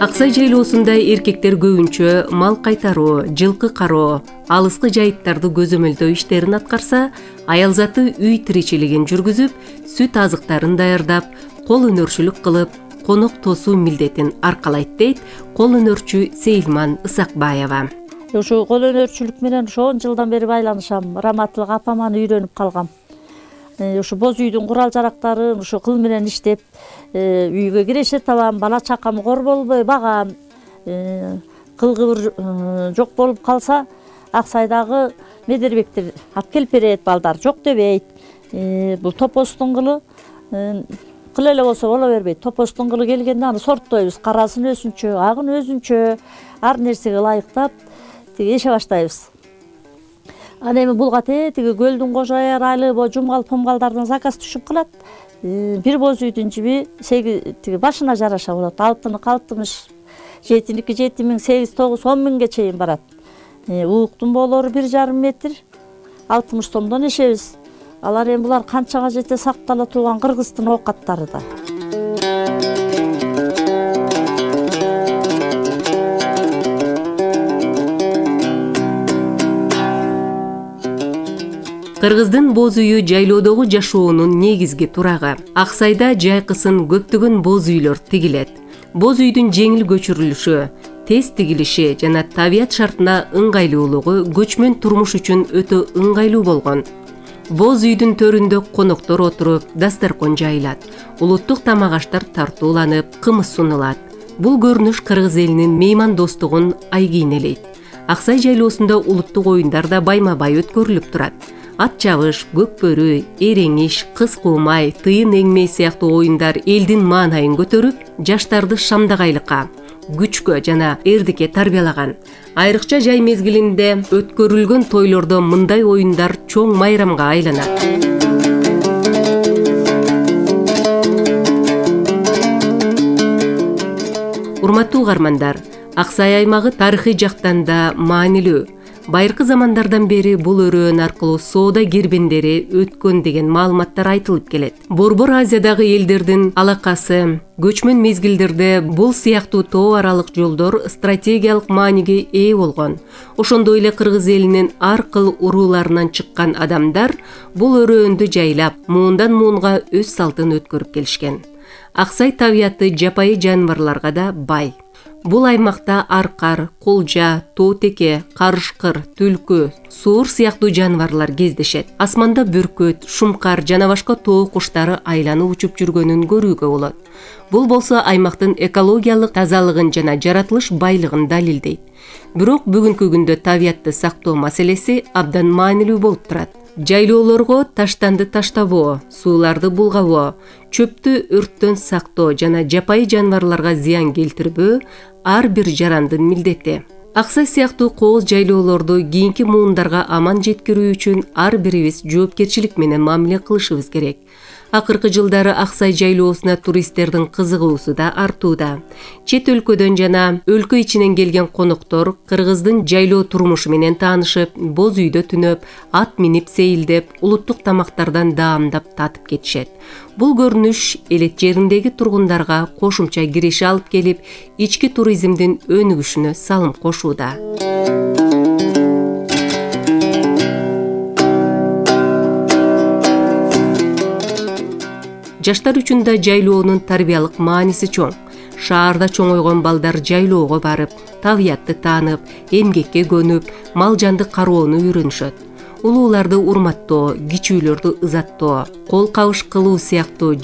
Аксай жайлоосунда эркектер көбүнчө мал кайтаруу, жылкы кароо, алыскы жайыттарды көзөмөлдөө иштерин аткарса, аял заты үй тиричилигин жүргүзүп, сүт азыктарын даярдап, кол өнөрчүлүк кылып, конок тосуу милдетин аркалайт дейт кол өнөрчү Сейилман Ысакбаева. Ушу кол өнөрчүлүк менен 10 жылдан бери байланышам. Раматылык апаман үйрөнүп калгам. Ушу боз үйдүн курал жарактарын ушу кыл менен иштеп, үйгө киреше табам, бала чакамы кор болбой багам. Кылгыбыр жок болуп калса, Аксайдагы медербектер алып келип берет, балдар жок дебейт. Бул топостун кылы кыл эле болсо боло бербейт. Топостун кылы келгенде аны сорттойбуз. Карасын өзүнчө, агын өзүнчө, ар нерсеге ылайыктап эше баштайбыз. Ана эми булга тиги көлдүн кожо айрайылы, жумгал помгалдардан заказ түшүп калат. Бир боз үйдүн жиби тиги башына жараша болот. 6060, 7-ники 7000, 8, 9, 10 миңге чейин барат. Ууктун боолору 1,5 метр, 60 сомдон ишебиз. Алар эми булар канчага жете сактала турган кыргыздын оокаттары да. Кыргыздын боз үйү жайлоодогу жашоонун негизги турагы. Аксайда жайкысын көптөгөн боз үйлөр тигилет. Боз үйдүн жеңил көчүрүлүшү, тез тигилиши жана табият шартына ыңгайлуулугу көчмөн турмуш үчүн өтө ыңгайлуу болгон. Боз үйдүн төрүндө коноктор отуруп, дасторкон жайылат. Улуттук тамак аштар тартууланып, кымыз сунулат. Бул көрүнүш кыргыз элинин меймандостугун айгийнелейт. Аксай жайлоосунда улуттук оюндар да байма-бай өткөрүлүп турат. Ат чабыш, көкбөрү, эреңиш, кыз куумай, тыйын эңмей сыяктуу оюндар элдин маанайын көтөрүп, жаштарды шамдагайлыкка, күчкө жана эрдикке тарбиялаган. Айрыкча жай мезгилинде өткөрүлгөн тойлордо мындай оюндар чоң майрамга айланат. Урматтуу угармандар, Аксай аймагы тарыхый жактан да маанилүү. Байыркы замандардан бери бул өрөөн аркылуу соода кирбендери өткөн деген маалыматтар айтылып келет. Борбор Азиядагы элдердин алакасы көчмөн мезгилдерде бул сыяктуу тоо аралык жолдор стратегиялык мааниге ээ болгон. Ошондой эле кыргыз элинин ар кыл урууларынан чыккан адамдар бул өрөөндү жайлап, муундан муунга өз салтын өткөрүп келишкен. Аксай табияты жапайы жаныбарларга да бай. Бул аймакта аркар, кулжа, тоотеке, карышкыр, түлкү, суур сыяктуу жаныбарлар кездешет. Асманда бүркөт, шумкар жана башка тоо куштары айланып учуп жүргөнүн көрүүгө болот. Бул болсо аймактын экологиялык тазалыгын жана жаратылыш байлыгын далилдейт. Бирок бүгүнкү күндө табиятты сактоо маселеси абдан маанилүү болуп турат. Жайлоолорго таштанды таштабоо, сууларды булгабоо, чөптү өрттөн сактоо жана жапайы жаныбарларга зыян келтирбөө ар бир жарандын милдети. Аксай сыяктуу кооз жайлоолорду кийинки муундарга аман жеткирүү үчүн ар бирибиз жоопкерчилик менен мамиле кылышыбыз керек. Акыркы жылдары Аксай жайлоосуна туристтердин кызыгуусу да артууда. Чет өлкөдөн жана өлкө ичинен келген коноктор кыргыздын жайлоо турмушу менен таанышып, боз үйдө түнөп, ат минип сейилдеп, улуттук тамактардан даамдап татып кетишет. Бул көрүнүш элет жериндеги тургундарга кошумча кириш алып келип, ички туризмдин өнүгүшүнө салым кошууда. Жаштар үчүн да жайлоонун тарбиялык мааниси чоң. Шаарда чоңойгон балдар жайлоого барып, табиятты таанып, эмгекке көнүп, мал жанды кароону үйрөнүшөт. Улууларды урматтоо, кичүүлөрдү ызаттоо, кол кабыш кылуу сыяктуу